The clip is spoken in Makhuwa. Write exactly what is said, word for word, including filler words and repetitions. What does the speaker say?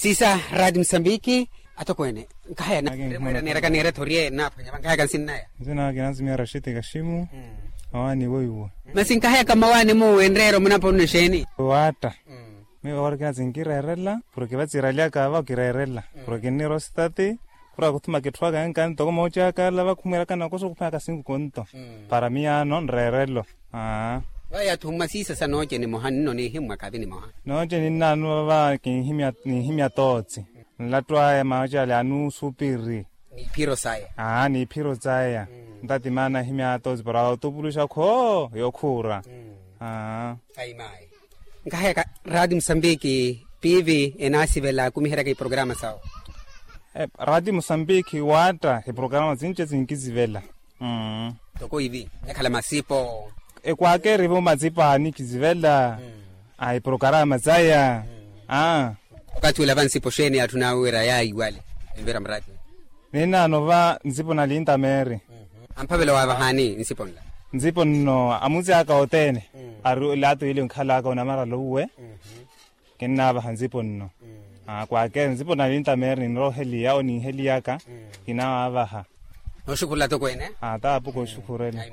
Tisa rati musambiki. Atokweene, nkahaya na- Ake nkhuna- neeraka neeretha oriye naaphwanya va nkahayaka nsinnaya. Nsinakina nzimiya rashiti kashimu. Mawaani weiwo. Masi nkahayaka mmawaani mu wenreera omunapo nno exeeni? Waatta. Miyo vawarikina zinkireerela porke vatsiralyaka va okireerela porke nnira ositati. Pura kuthuma kitthu aka enkani toko moocaakala vakhumwirakana okosa okhuphayaka sinkuku nto. Para miyaano nreerelo. Aa. Vaya atthu mmasiisa sa nooce nimoha nno nihimmwaka vi nimoha. Nooce ninnaano vava ninhimya tootsi. Nlattu aya maacali anuusupiri. Niiphiro saya. Aa niiphiro saya. Ntati maana ahimya tootsi para otupuluxa khoo yookhuura. Aa. Ayi mayi. Nkahayaka raati musambiki piivi enaasivela kumiheryaka iporokaraama sawo. Raati musambiki waatta iporokaraama sinci sinkisivela. Toko ivi yakhala masipo. Ekwakeerivo masipo anikisivela. Iporokaraama saya. Okathi ula va nsipo xeeni atthu naawe wira yaayiwale? Envira murati. Ninnaano va nsipo na linta meeri. Amphavela waavahani nsipo nla? Nsipo nno amuzi aka othene ari elato ile nkhalaka onamarala uwe. Kinnaavaha nsipo nno. Kwakere nsipo na linta meeri ninroheliya oninheliyaka. Kinawaavaha. Nooxukhurela tokweene. Ataapu kooxukhurela.